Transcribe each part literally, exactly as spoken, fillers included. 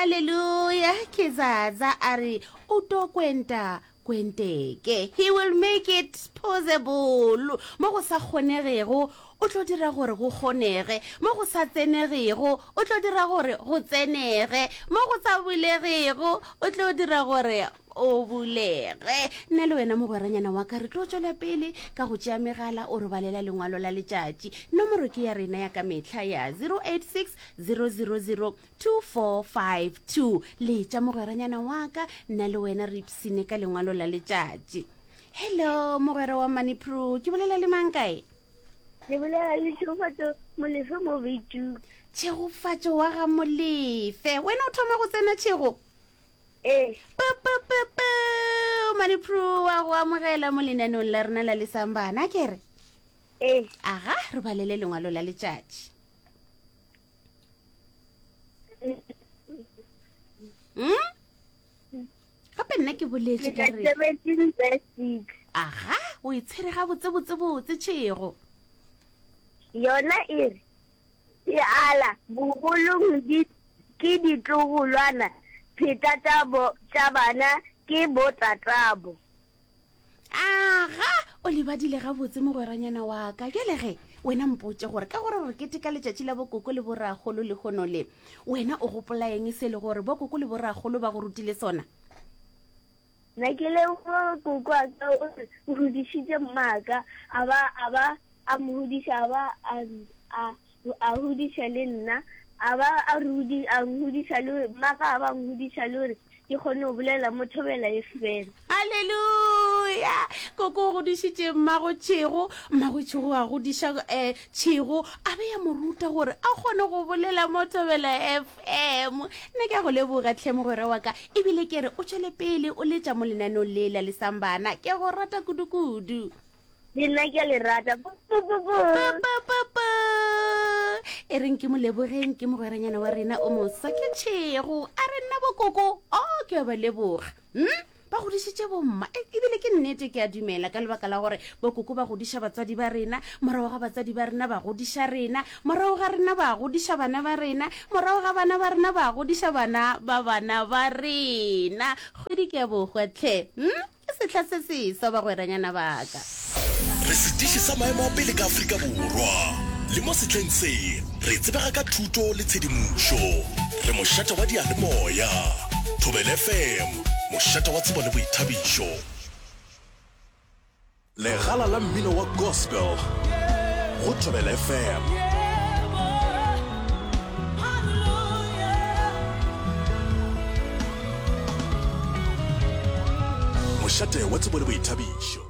Haleluya! Ke Zaza a re o to kwenta kwenteke. He will make it possible. Mo go sa kgonegego, o tlo dira gore go kgonege. Mo go sa tsenegego, o tlo dira gore go tsenege. Mo go sa bulegego, o tlo dira gore o bulege. Nna le wena mogweranyana wa ka re tlo tšwela pele ka go tšea megala o re balela lengwalo la letšatši. Nomoro ke ya rena ya ka mehla ya zero eight six zero zero zero two four five two. Letša mogweranyana wa ka, nna le wena re ipsine ka lengwalo la letšatši. Hello mogwera wa Manipro, ke bolela le mang kae? Ke bolela le Tšhegofatšo Molefe mo Beitšung. Tšhegofatšo wa ga Molefe, wena o thoma go tsena Tšhego? Ee. Pu, pu, pu, pu. Manipro wa go amogela mo lenaneong la rena la Lesambana, ke re? Ee. Aga, re balele lengwalo la letšatši. Hmm? Gape nna ke boletše ka re. Seventeen verse six. Aga, o e tshwere gabotse botse botse Tšhego. Yona e re, Seala bogolong di ke ditlogolwana, pheta tša bo, tša bana ke botatabo. Aga, o le badile gabotse mogweranyana wa ka. Bjale ge, wena mpotše gore ka gore re keteka letšatši la bokoko le borakgolo lehono le, wena o gopola eng se le gore bokoko le borakgolo ba go rutile sona? Nna ke leboga koko wa ka o re o godišitše mmaka, a ba, a ba a mo godiša, a ba a, a, a godiša le nna, a ba a re godi-, a ngodiša le mmaka, a ba a ngodiša le gore ke kgone go bolela mo Thobela F M. Haleluya! Koko o godišitše mmago Tšhego, mmago Tšhego a godiša, eh, Tšhego, a be a mo ruta gore a kgone go bolela mo Thobela F M. Nna ke a go leboga tlhe mogwera wa ka, ebile ke re o tšwele pele o letša mo lenaneong le la Lesambana. Ke a go rata kudu-kudu. Le nna ke a le rata. Pu, pu, pu, pu. Pu, pu, pu, pu. E reng ke mo lebogeng, ke mogweranyana wa rena o moswa ke Tšhego. A re nna bokoko, o ke a ba leboga. Hmm? Ba godišitše bomma. E, ebile ke nnete ke a dumela ka lebaka la gore bokoko ba godiša batswadi ba rena, morago ga batswadi ba rena ba godiša rena, morago ga rena ba godiša bana ba rena, morago ga bana ba rena ba godiša bana ba bana ba rena. Kgwedi ke ya bohwa tlhe. Hmm? Ke sehla se seswa bagweranyana ba ka. Re setiši sa maemo a pele ka Afrika Borwa. Le mo sehleng se, re tsebega ka thuto le tshedimošo. Re mošate wa diyalemoya. Thobela F M, mošate wa tsebo le boithabišo. Legala la mmino wa gospel go Thobela F M. Mošate wa tsebo le boithabišo.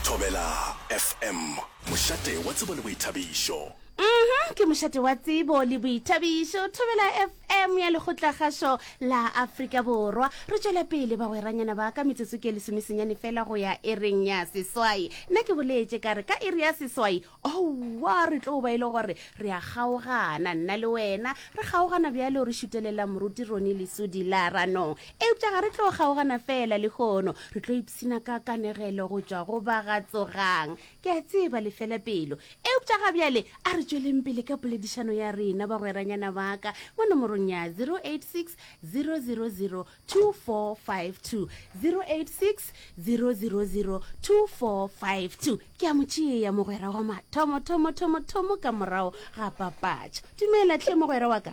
Thobela F M, mošate wa tsebo le boithabišo. Mhm, ke mošate wa tsebo le boithabišo. Thobela F M ya Lekgotlakgašo la Afrika Borwa. Re tšwela pele bagweranyana ba ka, metsotso ke lesomesenyane fela go ya ereng ya seswai. Nna ke boletše ka re ka iri ya seswai, owa, re tlo ba e le gore re a kgaogana, nna le wena. Re kgaogana bjalo re šutelela Moruti Ronnie Lesodi la Ranong. Eupša ga re tlo kgaogana fela lehono, re tlo ipshina ka kanegelo go tšwa go ba ga Tsogang. Ke a tseba le fela pelo. Eupša ga bjale a re tšweleng pele ka poledišano ya rena, bagweranyana ba ka, mo nomorong ya zero eight six, zero zero zero, two four five two, zero eight six, zero zero zero, two four five two. Ke a mo tšea mogwera wa mathomo, thomo, thomo, thomo ka morago ga papatšo. Dumela hle mogwera wa ka.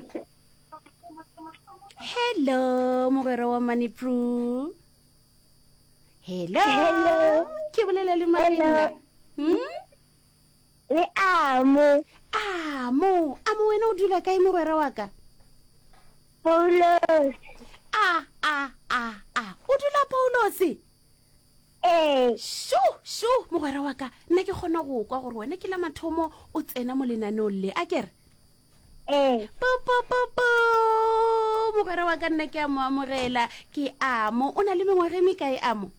Hello mogwera wa Manipru. Hello. Hello. Ke bolela le Marina. Hmm? Le Amo. Amo, Amo wena o dula kae mogwera wa ka? Paulos. A a a a. O dula Paulos? Ee. Sho, sho mogwera wa ka, nna ke kgona go kwa gore wena ke la mathomo o tsena mo lenaneong le, a kere? Ee. Pu, pu, pu, pu. Mogwera wa ka nna ke a mo amogela, ke Amo. O na le mengwaga e mekae Amo?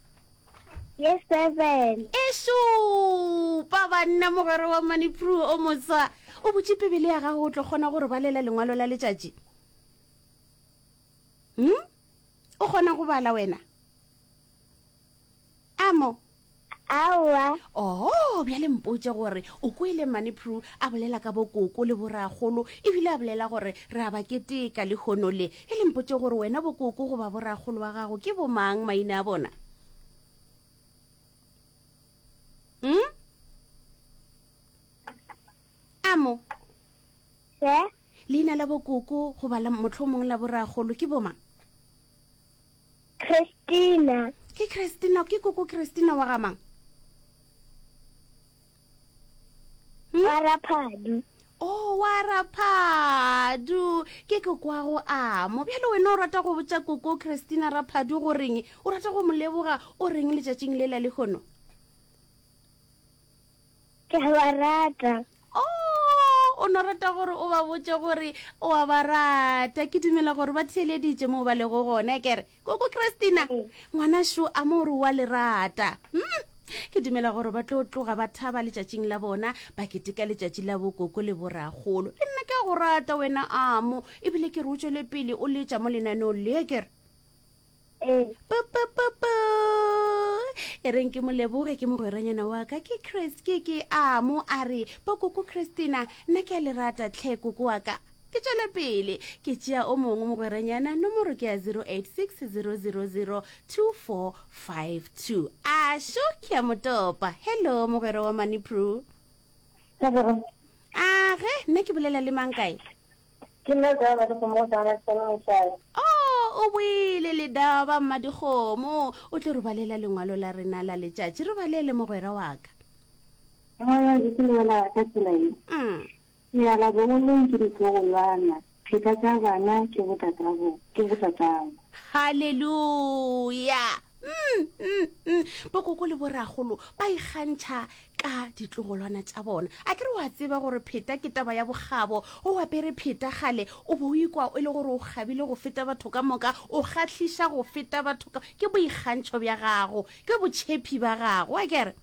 Ye seven. E šupa banna mogwera wa Manipru o moswa. O butše Bibele ya gago o tlo kgona go re balela lengwalo la letšatši? Hmm? O kgona go bala wena? Amo? Aowa. Oh, bjale mpotše gore o kwele Mane Prue a bolela ka bokoko le borakgolo ebile a bolela gore re a ba keteka lehono le. E le mpotše gore wena bokoko goba borakgolo wa gago ke bomang maina a bona? Hmm? Amo. Se? Leina la bokoko goba la mohlomong la borakgolo ke bomang? Christina. Ke Christina, ke koko Christina wa ga mang? Hmm? Wa Raphadu. Oh, wa Raphadu. Ke koko wa go amo. Bjale wena o rata go botša koko Christina Raphadu goreng? O rata go mo leboga o reng letšatšing le la lehono? Ke a ba rata. Oh, o no rata gore o ba botše gore o a ba rata. Ke dumela gore ba theeleditše moo ba lego gona, kere koko Christina ngwana šo a mo re wa le rata. Hmm? Ke dumela gore ba tlo tloga ba thaba letšatšing la bona, ba keteka letšatši la bokoko le borakgolo. Le nna ke a go rata wena amo, ebile ke re o tšwele pele o letša mo lenaneong le, kere Ee. Pa, pa, pa, pa. E reng ke mo leboge ke mogweranyana wa ka ke Chris ke ke amo a re bokoko Christina nna ke a le rata tlhe koko wa ka. Ke tšwele pele ke tšea o mongwe mogweranyana, nomoro ke ya zero eight six zero zero zero two four five two. A šo ke a motopa. Hello mogwera wa Money Prue. A ge nna ke bolela le mang kae? Ke nna ka ba dikgomo go tsana tsana mosadi. Oh, o boile le daba mmadikgomo. O tlo re balela lengwalo la rena la letšatši. Re balele mogwera wa ka. Lengwalo le ke lengwala ka tsela ye. Mm. Meala bogolong ke ditlogolwana, pheta tša bana ke botatabo, ke botatabo. Hallelujah. Mm, mm, mm. Bokoko le borakgolo ba ikgantšha ka ditlogolwana tša bona. A ke re wa tseba gore pheta ke taba ya bokgabo, o apere pheta kgale, o bo o ikwa e le gore o kgabile go feta batho ka moka, o kgahliša go feta batho ka, ke boikgantšho bja gago, ke botšhephi ba gago, a ke re?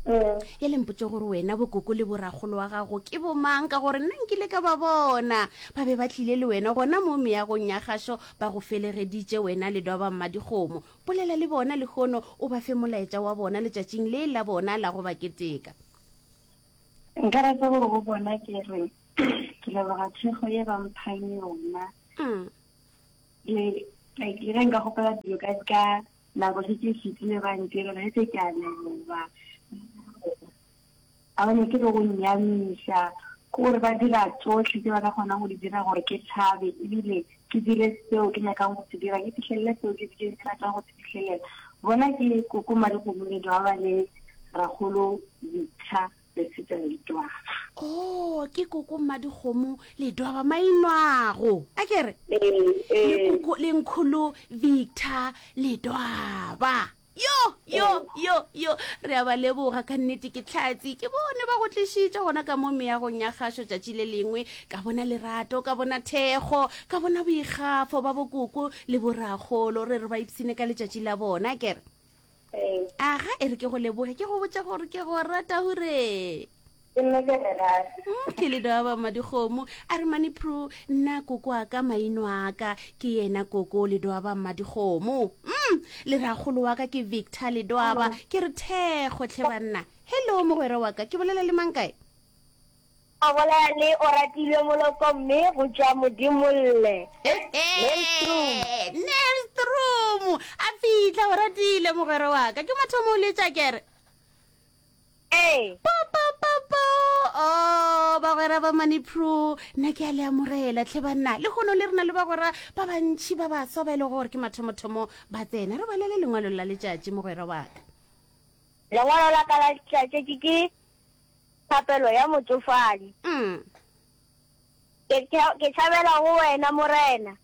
E le mpotše gore wena bokoko le borakgolo wa gago ke bomang, ka gore nna nkile ka ba bona ba be ba tlile le wena gona mo meagong ya kgašo, ba go felegeditše wena le dwa ba mmadikgomo. Bolela le bona lehono, o ba fe molaetša wa bona letšatšing le la bona la go ba keteka. Nka rata gore go bona ke re ke leboga thekgo ye ba mphang yona. Mm. Le, like, le ge nka kgopela dilo ka, ka nako se ke fetile ba ntirela, ge se ke a leboga. A ba nyake le go nnyamiša, ke gore ba dira tsohle tse ba ka kgonang go di dira gore ke thabe, ebile ke dire seo ke nyakang go se dira, ke fihlelele seo ke, ke ratang go se fihlelela. Bona ke koko Madikgomo le Dwaba le Rakgolo Victor Lesitsa le Dwaba. Oh, ke koko Madikgomo le Dwaba mainwago. A ke re? Ee, ee. Le koko le nkgolo Victor le Dwaba. Yo, yo, yo, yo, re a ba leboga ka nnete ke tlhatsi. Ke bone ba go tlišitše gona ka mo meagong ya kgašo tšatši le lengwe. Ka bona lerato, ka bona thekgo, ka bona boikgafo ba bokoko le borakgolo. Re re ba ipshine ka letšatši la bona, ke re? Ee. Aga, e re ke go leboge, ke go botša gore ke go rata hure. Ke nna ke re rata. Mm, ke le daba Madikgomo. A re Mane Prue, nna koko wa ka maino a ka ke yena koko le dwaba Madikgomo. Mm, le rakgolo wa ka ke Victor le dwaba. Ke re thekgo tlhe banna. Hello mogwera wa ka, ke bolela le mang kae? O bolela le Oratile Moloko mme go tšwa Modimolle. Nelstroom. A fihla Oratile mogwera wa ka. Ke mathomo o letša kere? Ee. Po, po, po, po. Oh, bagwera ba Money Prue, nna ke a le amogela tlhe banna. Lehono le rena le bagwera ba bantši ba baswa ba e lego gore ke mathomothomo ba tsena. Re balele lengwalo la letšatši mogwera wa ka. Lengwalo la ka la letšatši ke thapelo ya motšofadi. Mm. Ke ke tšhabela go wena Morena.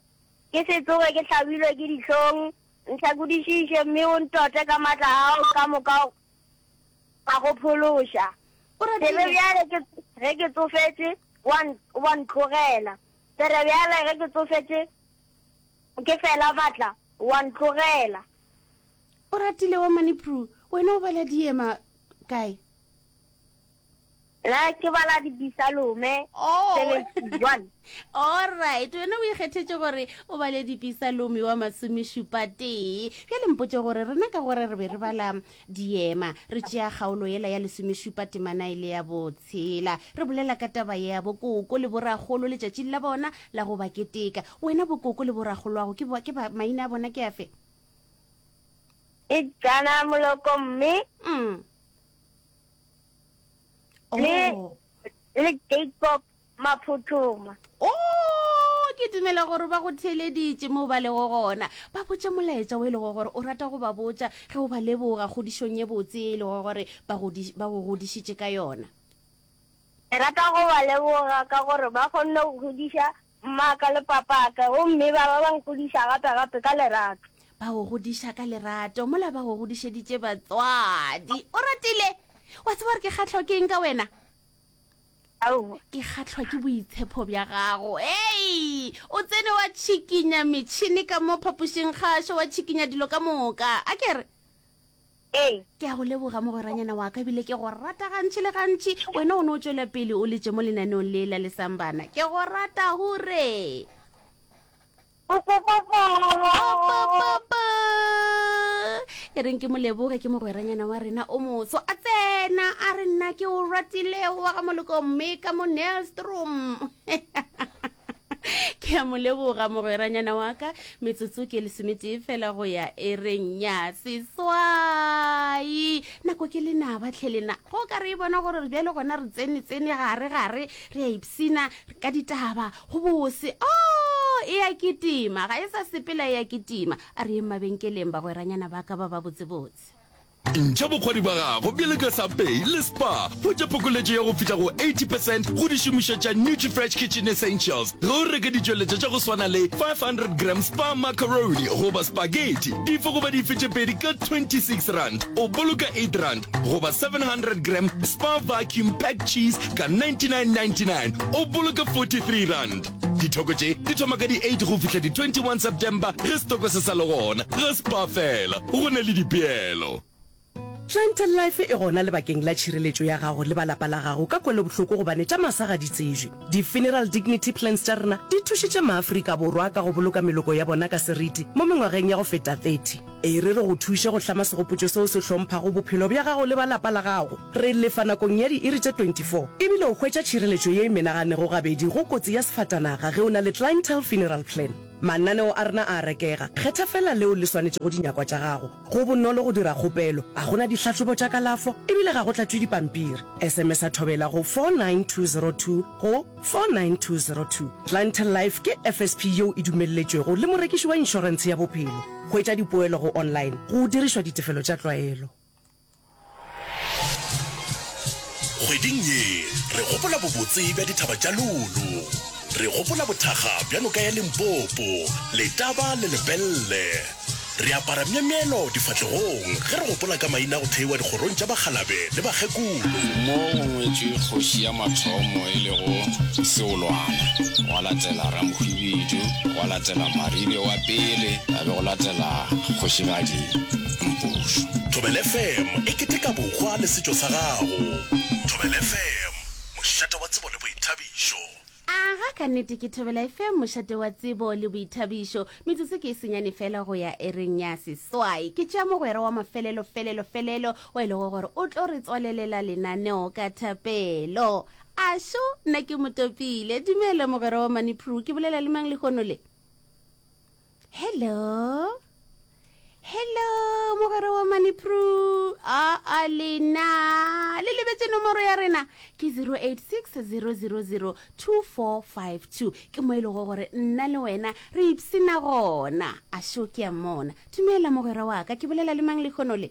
Ke se tsoge ke hlabilwe ke dihlong, ntlhakodišiše mme o ntote ka matla ao ka moka a go phološa. O ratile. Tsebe bjale ke ge ke tsofetše, wa n-, wa ntlogela. Tsebe bjale ge ke tsofetše, ke fela matla, wa ntlogela. O ratile wa Money Prue, wena o bala diema kae? Nna ke bala Dipisalome Oh. seventy-one. Alright, wena o ikgethetše gore o bale Dipisalome wa masomešupa tee. Bjale mpotše gore rena ka gore re be re bala diema, re tšea kgaolo yela ya lesomešupa temana e le ya botshela, re bolela ka taba ya bokoko le borakgolo letšatšing la bona la go ba keteka. Wena bokoko le borakgoloago ke ba, ke ba, maina a bona ke afe? E Jana Moloko mme Mm. le Oh. le Jacob Maphuthuma. Oh, ke dumela gore ba go theeleditše mo ba lego gona. Ba botše molaetša o e lego gore o rata go ba botša ge o ba leboga kgodišong ye botse e lego gore ba godi-, ba go godišitše ka yona. Ke rata go ba leboga ka gore ba kgonne go godiša mmaka le papaka, gomme ba ba ba nkgodiša gape-gape ka lerato. Ba go godiša ka lerato, mola ba go godišeditše batswadi. O ratile? Wa tseba gore ke kgahlwa ke eng ka wena? Aowa. Ke kgahlwa ke boitshepo bja gago. Hei, o tsene wa tšhikinya metšhene ka mo phapošing kgašo, wa tšhikinya dilo ka moka. A ke re? Ee. Ke a go leboga mogweranyana wa ka, ebile ke go rata gantši le gantši. Wena o no tšwela pele o letše mo lenaneong le la Lesambana. Ke go rata hure. E reng ke mo leboge, ke mogweranyana wa rena o moso. A tsena a re nna ke o ratilego wa ga moloko mme ka mo Nellstrom. Ke a mo leboga mogweranyana wa ka. Metsotso ke lesometee fela go ya e reng ya seswai. Nako ke lenaba tlhe lena. Go ka re e bona gore bjale gona re tsene tsene gare gare, re a ipsina ka ditaba go bose. Oh, e a kitima, ga e sa sepela e a kitima. A re yeng mabenkeleng bagweranyana ba ka ba ba botsebotse. Ntšha bokgwari ba gago bjale ka Subway le Spar. Hwetša phokoletšo ya go fihla go eighty percent go dišomišwa tša Nutrifresh Kitchen Essentials ge o reka ditšweletšwa tša go swana le five hundred gram Spar macaroni goba spaghetti dife goba dife tše pedi ka twenty-six rand, o boloka eight rand, goba seven hundred gram Spar vacuum packed cheese ka ninety-nine ninety-nine, o boloka forty-three rand. Dithoko tše di thoma ka di eight go fihla di twenty-one September ge setoko se sa le gona. Ga Spar fela, go na le dipeelo. Clientele Life e gona lebakeng la tšhireletšo ya gago le ba lapa la gago ka kwelobohloko gobane tša masa ga di tsejwe. Di-funeral dignity plans tša rena di thušitše maAfrika Borwa ka go boloka meloko ya bona ka seriti mo mengwageng ya go feta thirty. E re re go thuše go hlama segopotšo seo se hlomphago bophelo bja gago le ba lapa la gago. Re lefa nakong ya diiri tše twenty-four ebile o hwetša tšhireletšo ye e menaganego gabedi go kotsi ya sefatanaga ge o na le Clientele Funeral Plan. Mananeo a rena a a rekega. Kgetha fela leo le swanetšego dinyakwa tša gago. Go bonolo go dira kgopelo, ga go na dihlahlobo tša kalafo ebile ga go tlatšwe dipampiri. S M S a thobela go four nine two zero two go four nine two zero two. Clientele Life ke F S P yeo e dumelletšwego le morekiši wa inšorentshe ya bophelo. Hwetša dipoelo go online go dirišwa ditefelo tša tlwaelo. Kgweding ye re gopola bobotse bja dithaba tša Lulu. Re gopola bothakga bja noka ya Limpopo, Letaba le Lepelle. Re apara myemyelo difahlegong ge re gopola ka maina a go theiwa dikgorong tša bakgalabe le bakgekolo. Mo go ngwetšwe kgoši ya mathomo e lego Seolwana, gwa latela Ramohwibidu, gwa latela Maribe wa pele, ya be go latela kgošigadi Mpušo. Thobela F M e keteka bohwa le setšo sa gago. Thobela F M, mošate wa tsebo le boithabišo. Aga, ka nnete ke Thobela F M, mošate wa tsebo le boithabišo. Metsotso ke e senyane fela go ya ereng ya seswai. Ke tšea mogwera wa mafelelo, felelo, felelo, wa e lego gore o tlo re tswalelela lenaneo ka thapelo. Ašo, nna ke motopile. Dumela mogwera wa Manipru, ke bolela le mang lehono le? Hello? Hello, mogwera wa Manipru. A, a lena. Le lebetse nomoro ya rena ke zero eight six zero zero zero two four five two. Ke mo e lego gore nna le wena re ipsina gona. Ašo ke a mmona. Dumela mogwera wa ka, ke bolela le mang lehono le?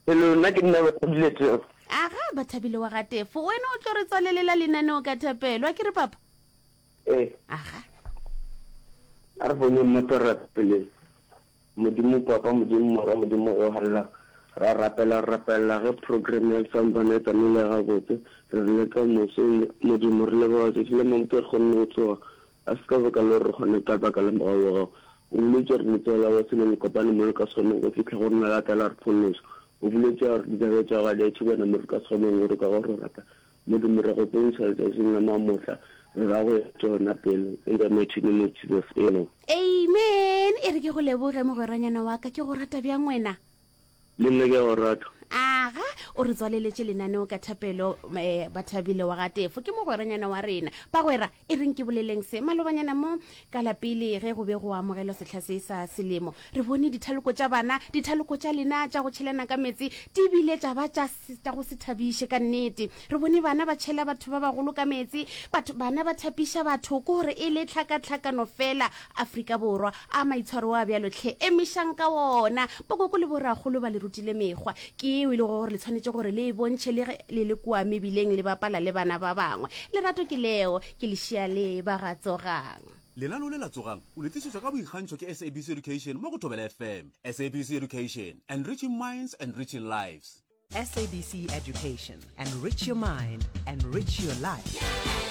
Hello, nna ke nna Bathabile Tefo. Aga, Bathabile wa ga Tefo, wena o tlo re tswalelela lenaneo ka thapelo, a ke re papa? Ee. Aga. A re bone mmoto re rapeleng. Modimo Papa, Modimo Morwa, Modimo o halala. Ra rapela, re rapela ge program ya Sambana e tsamaile gabotse. Re re le ka moso, Modimo re leboga tšatši le mamoto re kgonne go tsoga. A se ka baka le gore re kgone ka baka la mogau wa gago. O boletše gore letsogo la bose le le kopane mo le ka se kgoneng go fihla go rena la tla la re phološa. O boletše gore ditaba tša gago di a thibana mo re ka se kgoneng go re ka go re rata. Modimo re go bontšha letšatšing la mamohla, re ra go ya tšona pele, in the mighty name of Jesus, amen. Amen. E re ke go leboge mogweranyana wa ka, ke go rata bjang wena? Le nna ke a go rata. Aga, o re tswaleletše lenaneo ka thapelo, eh, Bathabile wa ga Tefo. Ke mogweranyana wa rena. Bagwera, e reng ke boleleng se. Malobanyana mo ka la pele ge go be go amogelwa sehla se sa selemo, re bone dithaloko tša bana, dithaloko tša lena tša go tšhelana ka meetse di bile tša ba tša, tša go se thabiše ka nnete. Re bone bana ba tšhela batho ba bagolo ka meetse, batho, bana ba thapiša batho, ke gore e le tlhakatlhakano feela. Afrika Borwa, a maitshwaro a bjalo hle, emišang ka wona. Bokoko le borakgolo ba le rutile mekgwa, ke yeo e lego gore le tshwanetše gore le e bontšhe le ge le le kua mebileng le bapala le bana ba bangwe. Lerato ke leo, ke lešea le ba ga Tsogang. Lenaneo le la Tsogang o le tlišetšwa ka boikgantšho ke SABC Education mo go Thobela F M. S A B C Education, enriching minds, enriching lives. S A B C Education, enrich your mind, enrich your life.